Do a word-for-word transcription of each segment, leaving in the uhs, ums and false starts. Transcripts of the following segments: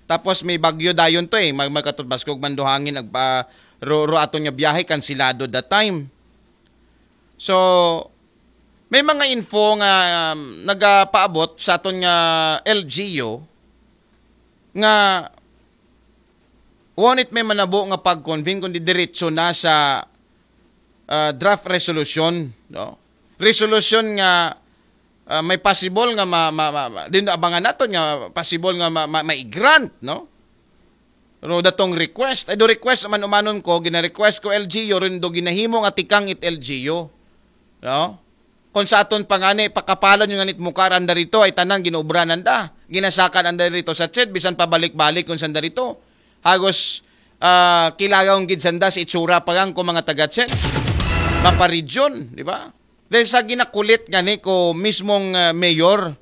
Tapos may bagyo dayon to eh. Mag magkatubas kog manduhangin, nagpa ro, ro aton nga biyahe kansilado that time. So, may mga info nga um, nagapaabot sa aton nga L G U nga won't may manabo nga pag-convene kundi diretso na sa ah, draft resolution, no? Resolution nga ah, may possible nga ma, ma, ma, ma- din abangan naton nga possible nga ma, ma, mai-grant, no? Pero datong request, ay do request man umanon ko, gina-request ko L G U, rin do ginahimo nga tikang it L G U. No? Kung sa aton pangani, pakapalon yung nganit mukar anda rito, ay tanan ginubranan da. Ginasakan anda rito sa ched, bisan pabalik-balik kung sanda rito. Hagos ah, kilagaw gid sanda sa itsura pa lang ko mga taga ched. Maparegyon, di ba? Dahil sa ginakulit nga ni ko mismong ah, mayor,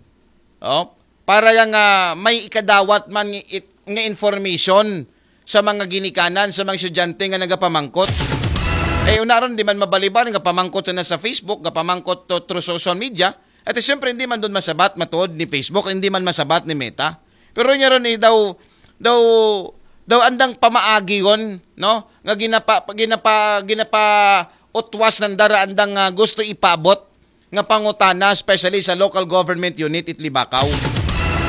oh, para lang ah, may ikadawat man nga it- nga information sa mga ginikanan sa mga estudyante nga nagapamangkot. Eh, una ron, di man mabalibar nga pamangkot sana sa Facebook, nga pamangkot to, through social media. At siyempre, hindi man doon masabat, matuod ni Facebook, hindi man masabat ni Meta. Pero niya ron, eh, daw, daw, daw andang pamaagi yon, no? Nga ginapa, ginapa, ginapa utwas ng dara andang ah, gusto ipabot nga pangutana, especially sa local government unit it Libakaw.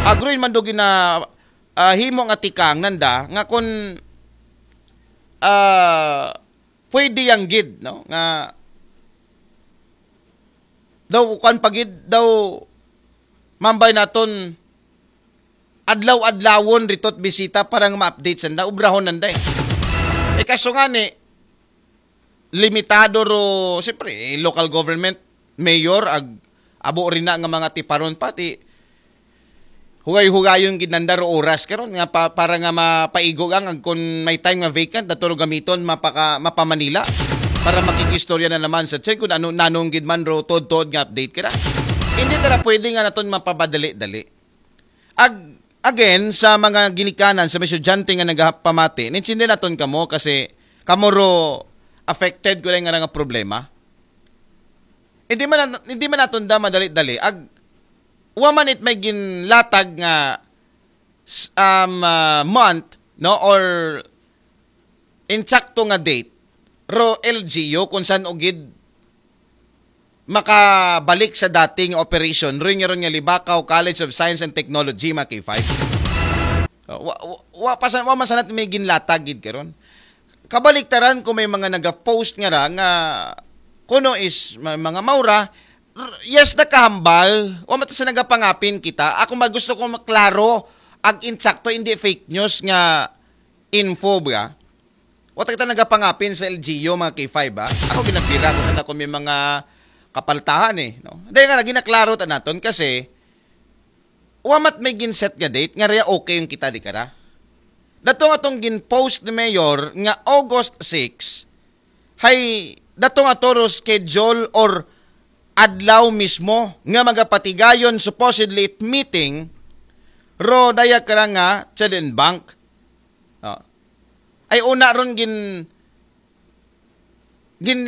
Agroin man do gina ah, himo nga tikang nanda nga kun ah, pwede yang gid, no, nga daw kuan pagid daw mambay naton adlaw-adlawon rito't bisita para nga ma-update sanda, ubrahon nanda eh. Eh, kaso nga ni, limitado ro, siyempre, eh, local government, mayor, ag abo rin na nga mga tiparon pati hugay-hugayon gid nanda ro oras karon nga pa, para nga mapaigo ang ag kun may time nga vacant dato ro gamiton mapaka mapamanila para makikistorya na naman sa ched kung ano nanong gid man ro tod-tod nga update kira. Hindi tara pwede nga naton mapabadali-dali. Ag again sa mga ginikanan sa mga estudyante nga nagapamati, nintindi naton kamo kasi kamo ro affected ko nga nga problema. Hindi man hindi man naton da madali-dali. Ag wa man it may ginlatag nga s- um, uh, month, no, or insakto nga date ro L G U kung saan ugid makabalik sa dating operation rin nga ron nga Libakaw College of Science and Technology, mga K five. Uh, wa, wa, wa, pa sa, wa masanat may ginlatag gid karon. Kabaliktaran ko may mga nagapost nga ra nga kuno is ma- mga maura, r- yes, nakahambal. Wa man ta sa nagapangapin kita. Ako man gusto ko maklaro ag insakto, hindi fake news nga info ba. Wa ta kita nagapangapin sa L G U, mga K five, ha? Ako ginabira ko sa ako may mga kapaltahan eh, no? Dahil nga ginaklaro ta naton kasi wa mat may ginset nga date nga reya okay yung kita di kara. Dato nga tong ginpost ni Mayor nga August six, hay dato nga toro schedule or adlaw mismo nga magapatigayon supposedly it meeting ro daya kara nga Chad and Bank. Oh. Ay una ron gin gin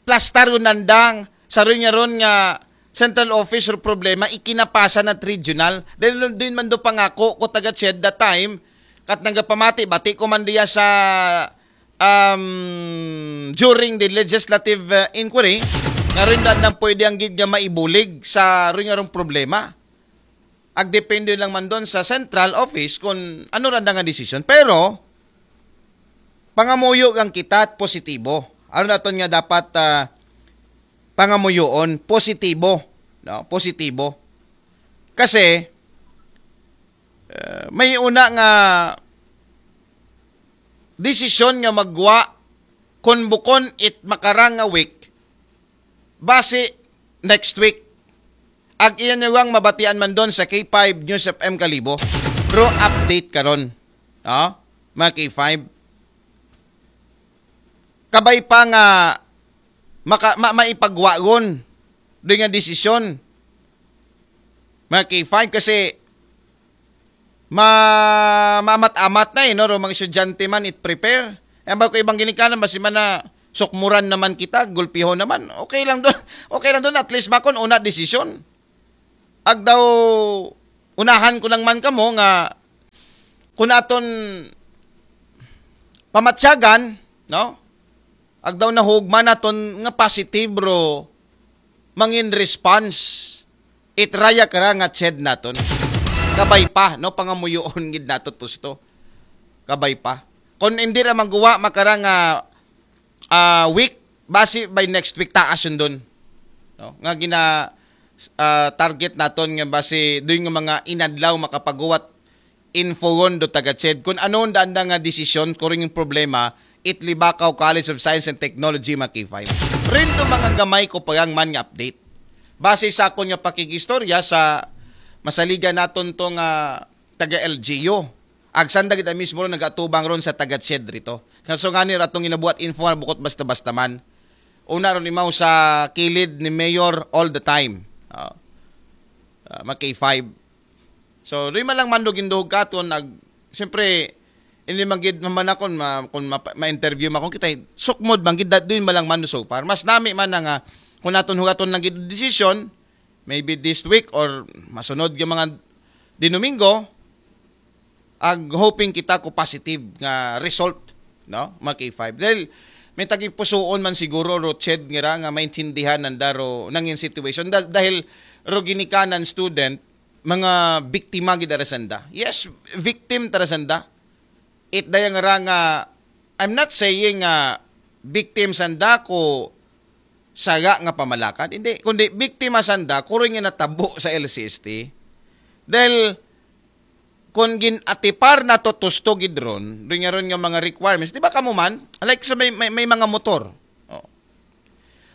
plastar yun nandang sa ron nga ron nga central office or problema ikinapasa na regional. Then din man do pangako ko taga Ched that time kat nagapamati bati ko man diya sa um, during the legislative uh, inquiry nga rin nang pwede ang gid nga maibulig sa ron nga ron problema. Ag depende lang man doon sa central office kung ano randa nga desisyon. Pero pangamuyo lang kita at positibo. Ano naton nga dapat uh, pangamuyoon? Positibo. No? Positibo. Kasi uh, may una nga desisyon nga magwa kung bukon it makarang nga week basi next week. Ag iyan niwang mabatian man doon sa K five News F M Kalibo. Pero update karon. Ha? Mga K five. Kabay pa nga maka, ma, maipagwagon doon nga desisyon. Mga K five kasi ma maamat-amat na eh, no? Ro mga estudyante man it prepare. Ang ba ko ibang ginikanan, basi man na sukmuran naman kita, gulpiho naman. Okay lang doon. Okay lang doon, at least makon una desisyon. Ag daw unahan ko lang man kamo nga Kung aton pamatyagan, no? Agdaw na hugma naton nga positive ro mangin response. It raya kara nga ched naton. Kabay pa, no? Pangamuyoon gid nato tusto. Kabay pa. Kung hindi ra magawa makara nga ah, week, basi by next week taas yun dun. No? Nga gina ah, target naton nga basi doon nga mga inadlaw makapaguwat infoon do taga ched kung ano ang daan nga desisyon kung yung problema it Libacao College of Science and Technology mga K five. Rin to mga gamay ko pagang man nga update. Base sa akon nga pakigistorya sa masaligan naton to nga taga L G U. Agsan da kita mismo ron nagatubang ron sa taga ched rito. Kaso nga ni ratong inabuhat info nga bukot basta-basta man. Una ron imaw sa kilid ni Mayor all the time. Ah, ah, mga K five. So, doon man lang man do ginduhog katon, ag, siyempre, hindi man gid mamanakon, ma, kung ma, ma-interview ma kung kita, sukmod man gid, that doon man lang man do so far. Mas nami man na nga, kung naton hugaton lang gid desisyon, maybe this week or masunod yung mga dinumingo, ag hoping kita ko positive nga result, no? Mga K five. Dahil may tagipusuon man siguro, Roched, nga ra nga maintindihan nanda ro nangin situation. Da, dahil ro ginikanan student, mga biktima gid ara sanda. Yes, victim tara sanda. It dayang ra nga, I'm not saying nga victim sanda ko saga nga pamalakan. Hindi, kundi biktima sanda, kuro nga natabo sa L C S T. Dahil, kung gin-atipar na to tusto gid ron, rin nga ron nga mga requirements, di ba kamo man? Like sa may, may, may mga motor. Oh.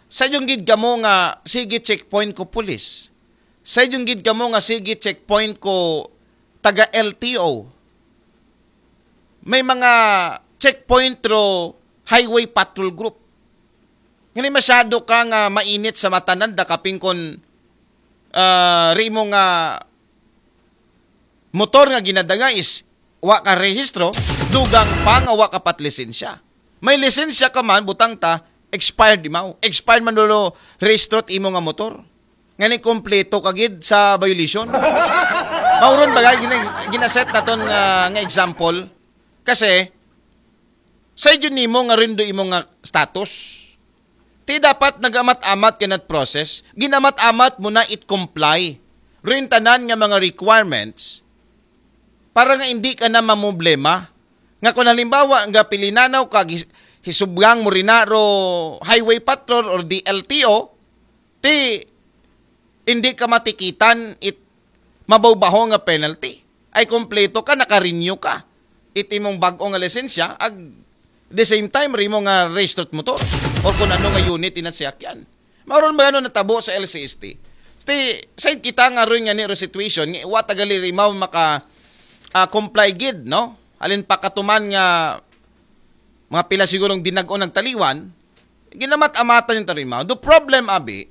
Sa yung gid kamo nga, sige checkpoint ko pulis. Sa yung gid kamo nga, sige checkpoint ko taga L T O. May mga checkpoint ro highway patrol group. Ngani masyado ka nga mainit sa mata nanda kapin kon, ah, rimo nga motor nga ginadanga is wa ka rehistro, dugang pa nga wa ka pat lisensya. May lisensya ka man, butang ta, expired imaw. Expired man dulo rehistro imo nga motor. Ngani kompleto ka gid sa violation. Mauron ba gina, ginaset naton nga, nga example? Kasi, sa yun nimo nga rindo imo nga status. Ti dapat nagamat-amat ka nat process, ginamat-amat mo na it comply. Rin tanan nga mga requirements para nga hindi ka na mamroblema. Nga kung halimbawa nga pilinanaw ka, gis- hisublang mo rin na ro highway patrol or D L T O, ti hindi ka matikitan it mabawbaho nga penalty. Ay kompleto ka, naka-renew ka. It imong bag-o nga lisensya, ag the same time, rimo nga registered motor. O kung ano nga unit inat siyakyan. Mauron ba ano natabo sa L C S T? Sti, side kita nga rin nga ni ro situation, nga wa tagali rimaw maka ah, comply gid, no? Alin pa katuman nga mga pila sigurong dinag-on nagtaliwan, ginamat-amatan yung tarimaw. The problem, abi,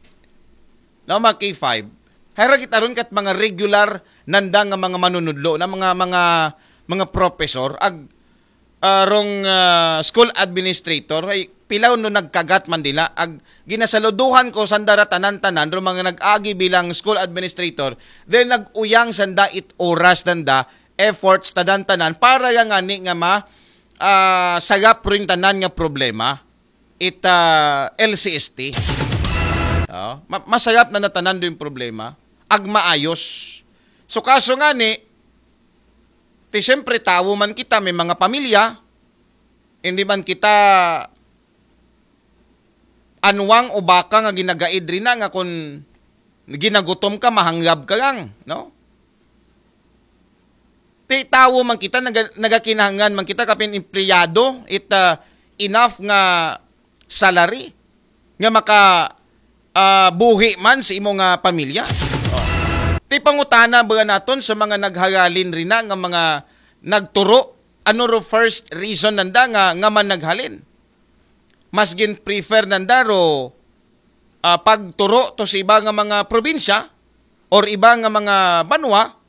no, mga K five, hara kita ron kat mga regular nanda nga mga manunudlo, na mga, mga, mga professor, ag, ah, rong, ah, school administrator, ay pilaw no nagkagat man dila, ag ginasaluduhan ko sandara tanan-tanan, rong mga nag-agi bilang school administrator, then nag-uyang sanda it oras nanda, efforts tadan-tanan, para nga ngani nga ma, ah, sagap rin tanan nga problema, it, ah, L C S T. Oh, ma- masagap na natanan do yung problema, ag maayos. So kaso nga ni, ti siyempre tawo man kita, may mga pamilya, hindi man kita anwang o baka nga ginagaid rin na nga kung ginagutom ka, mahanggab ka lang, no? Ti tawo man kita, naga, nagakinahanglan man kita, kapin empleyado, it ah, enough nga salary nga maka ah, buhi man sa imo nga pamilya. Oh. Ti pangutana ba naton sa mga naghagalin rin na nga mga nagturo, ano ro first reason nanda nga nga man naghalin? Mas gin prefer nanda ro ah, pagturo to sa iba nga mga probinsya or iba nga mga banwa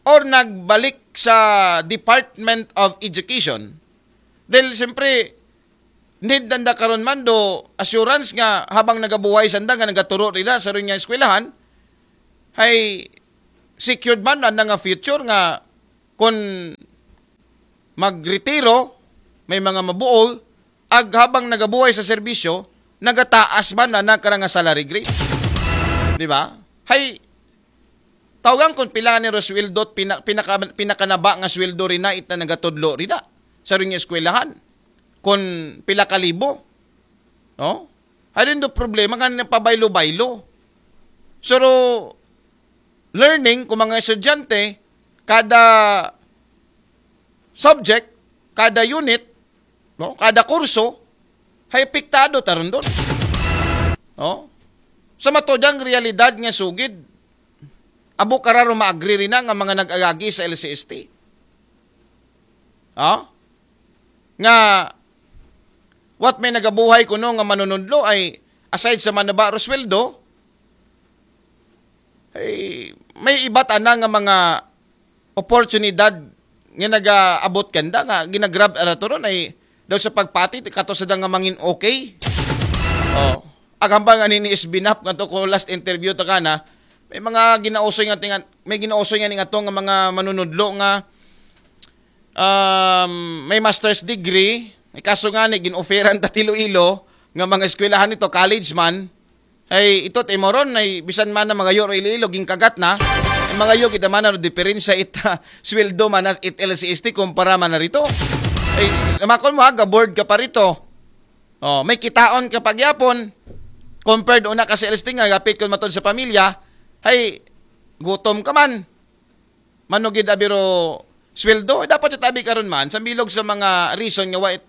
or nagbalik sa Department of Education? Dahil siyempre, need nanda karon man do assurance nga habang nagabuhay sanda nga nagaturo nila sa rin nga eskwelahan, ay secured man na nga future nga kung magretiro, may mga mabuol, ag habang nagabuhay sa serbisyo, nagataas man na ng karang salary grade. Di ba? Hay, tawagan kung pila ni sweldo, pina, pinaka, pinakanaba nga sweldo rin na it na nagatudlo rin na sa ring eskwelahan. Kung pila kalibo. No? Ayun do problema nga napabaylo-baylo. So, learning kung mga estudyante, kada subject, kada unit, no, kada kurso, hay apektado taron doon. No? Sa matodang realidad nga sugid, abo kararo ma-agree rin na nga mga nag-agagi sa L C S T. Ha? Nga, what may nagabuhay kuno nga manunudlo ay, aside sa manaba ro sweldo, ay may iba't ana nga mga oportunidad nga nagaabot kanda nga ginagrab ara to ron ay daw sa pagpati kato sa nga mangin okay. Oh. Agamba nga ni S B Nap nga to ko last interview to kana, may mga ginausoy nga tingan, may ginausoy nga ni nga to nga mga manunudlo nga um, may master's degree, may kaso nga ni ginoferan ta Iloilo nga mga eskwelahan nito, college man, ay ito, timoron, ay bisan man na mga yoro Iloilo, gingkagat na, ay mga yo, kita man na diferensya it ah, sweldo man na it L C S T kumpara man na rito. Ay, makon mo ha, board ka pa rito. Oh, may kitaon ka pagyapon. Compared una ka sa L S T nga, gapit ko matod sa pamilya, ay, gutom ka man. Manugid abiro sweldo, dapat itabi karon man sa bilog sa mga reason nga wait,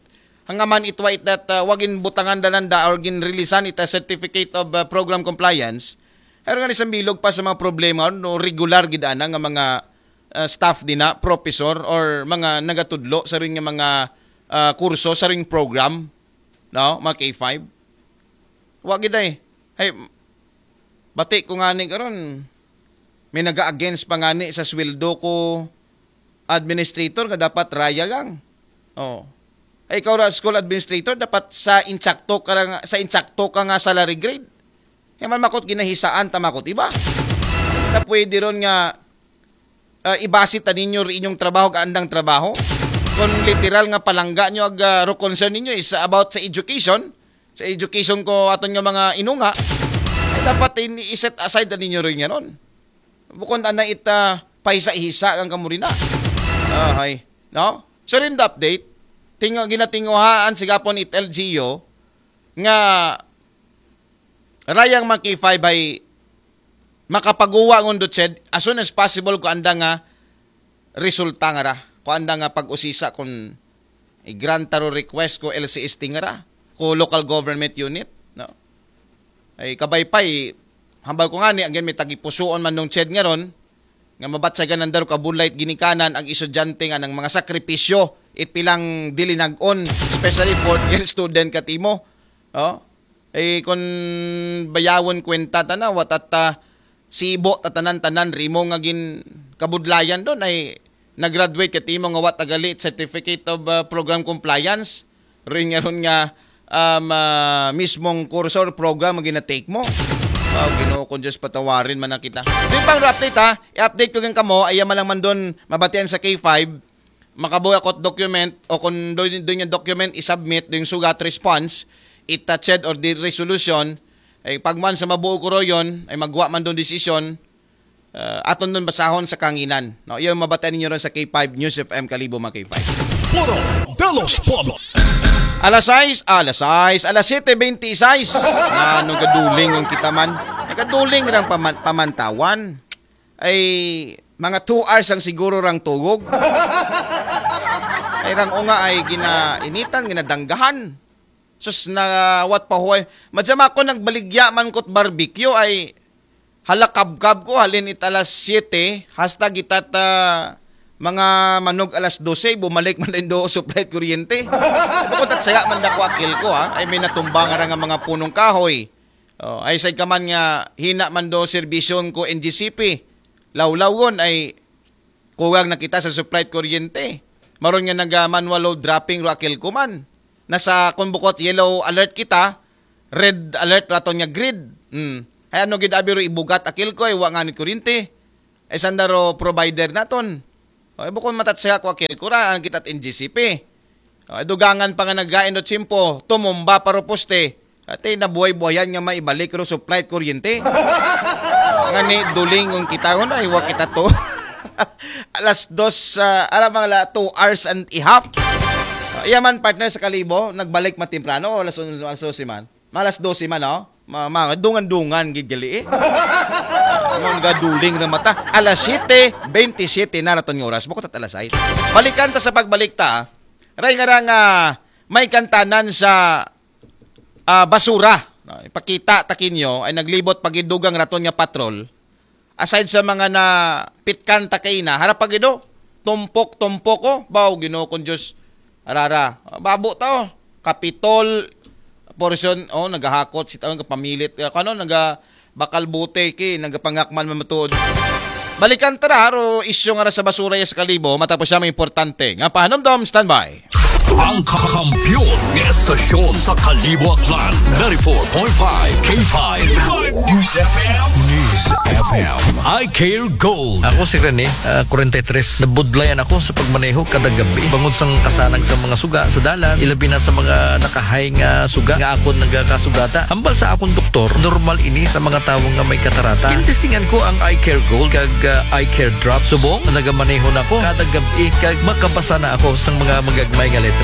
hangaman it wait that uh, wagin butangan dananda or gin releasean ita certificate of uh, program compliance. Pero nga isang bilog pa sa mga problema no regular gid ana nga mga uh, staff dina, professor or mga nagatudlo sa ring nga mga uh, kurso sa ring program, no, mga K five. Wa gid ay. Hey, bati ko nga ni karon. May naga-against pa nga ni sa sweldo ko administrator nga dapat raya lang. Oh. Ay ikaw ra school administrator dapat sa insakto ka lang, sa insakto ka nga salary grade. Kaya man makot ginahisaan ta makot iba. Na pwede ron nga uh, ibase ta ninyo ri inyong trabaho kaandang trabaho. Kung literal nga palangga nyo ag uh, ro concern ninyo is about sa education, sa education ko aton nga mga inunga, ay dapat in, i-set aside na ninyo rin nga ron. Bukon ana ita paisa-isa ang kamurina. Ahay. No? So rin the update, tingo, ginatinguhaan sigapon it L G U nga rayang mga K five ay makapaguwa ngun dutsid as soon as possible ko anda nga resulta nga ra. Ko anda nga pag-usisa kung i-grant taro request ko L C S T nga ra, ko local government unit, no? Ay kabay pay hambal ko nga ni again may tagipusuon man nung ched nga ron nga mabatsagan ng daro kabulay ginikanan ang estudyante nga ng mga sakripisyo it pilang dilinag-on, especially fourth year student katimo. Oh? Eh, kung bayawon kwenta ta na, wat at uh, sibo tatanan-tanan rimo nga gin kabudlayan doon ay nag-graduate katimo nga wat agalit certificate of uh, program compliance. Rin nga ron nga um, uh, mismong kurso or program ang ginatake mo. Wow, Ginoo kong Diyos, patawarin man na kita. Di pang update ha, i-update ko gan kamo, ayaw man lang man doon mabatian sa K five, makabuhi ako document o kung doon yung document i-submit, yung sugat response, itached or the resolution, ay pagman sa mabuo ko ro yun, ay magwa man doon desisyon, uh, aton doon basahon sa kanginan. No? Yung mabata ninyo ron sa K five News F M Kalibo mga K five. Foro de los Pueblos. Alas sais, alas sais, alas siyete bente sais. Ano gaduling ang kita man? Nagaduling rang paman- pamantawan. Ay mga two hours ang siguro rang tugog. Ay rang unga ay ginainitan, ginadanggahan. Sus na what pa huway. Madya ako nagbaligya man ko't barbecue ay halakabkab ko halin it alas siyete hasta gitat ah, mga manog alas dose bumalik man din do supply kuryente. Bukod at saya man dako akil ko ha ay may natumba nga ra nga mga punong kahoy. Oh, ay say ka man nga hina man do serbisyon ko N G C P. Lawlawon ay kuwag na kita sa supply kuryente. Maron nga naga manual load dropping ro akil ko man. Nasa kung bukot yellow alert kita, red alert raton nga grid. Hmm. Ay ano gid abi ro ibugat akil ko ay wa nga ni kuryente. Ay sanda ro provider naton. O, bukon matat siya ko akil ko ra, ang kita't N G C P. O, dugangan pa nga naggain do tiyempo, tumumba pa ro poste. Ate, nabuhay-buhayan nga maibalik ro supply kuryente. Nga ni duling kung kita ko na, iwa kita to. Alas dos, ah, alam mga la, two hours and a half. O, iya man, partner, sa Kalibo, nagbalik matimprano, alas onse, alas dose man. Malas dose man, oh. Ma, ma, dungan-dungan, gid gali, eh. Ano nga duling na mata? Alas siyete bentisiete na raton nga oras. Bukod at alas sais. Balikan ta sa pagbalik ta, ah. Ray nga ra nga may kantanan sa, ah, basura. No, ipakita ta kinyo ay naglibot pagidugang raton nga patrol. Aside sa mga na pitkan ta kaina, harap pagido. Tumpok, tumpok, oh. Baw, Ginoo kong Diyos. Arara. Babo ta, oh. Kapitol, portion, oh, nagahakot, sit, oh, nagapamilit. Eh, kano, naga, bakal bote, ki, nagapangakman mamatuod. Balikan ta ra, aro, isyu nga ra sa basura ya sa Kalibo, matapos siya may importante. Nga pahanumdom, standby. Ang kakampiyon ng estasyon sa Kalibo, Aklan, ninety-four point five K five News F M. News F M. I Care Gold. Ako si Rene, ah, forty-three. Nabudlayan ako sa pagmaneho kada gabi. Bangod sang kasanag sa mga suga sa dalan, ilabi na sa mga nakahay nga suga nga akon nagakasugata. Hambal sa akong doktor, normal ini sa mga tawo nga may katarata. Gintestingan ko ang Eye Care Gold kag, ah, Eye Care Drop. Subong, nagamaneho na ako kada gabi kag makabasa na ako sang mga magagmay nga letra.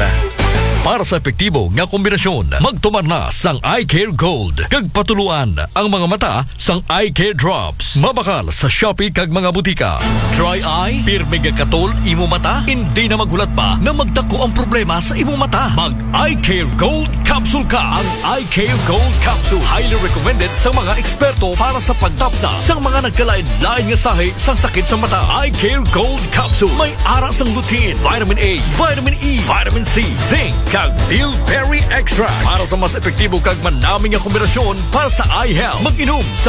Para sa epektibo nga kombinasyon, magtumar na sang Eye Care Gold kag patuluan ang mga mata sang Eye Care Drops. Mabakal sa Shopee kag mga butika. Dry eye, pirmi nga katol imo mata, hindi na maghulat pa na magdako ang problema sa imo mata. Mag Eye Care Gold Capsule ka. Ang Eye Care Gold Capsule highly recommended sa mga eksperto para sa pagtapda sa mga nagkalain-lain nga sahi sang sakit sa mata. Eye Care Gold Capsule may ara sang lutein, vitamin A, vitamin E, vitamin C, zinc, kag bilberry extract para sa mas epektibo kag manami nga kombinasyon para sa eye health. Mag-inom sa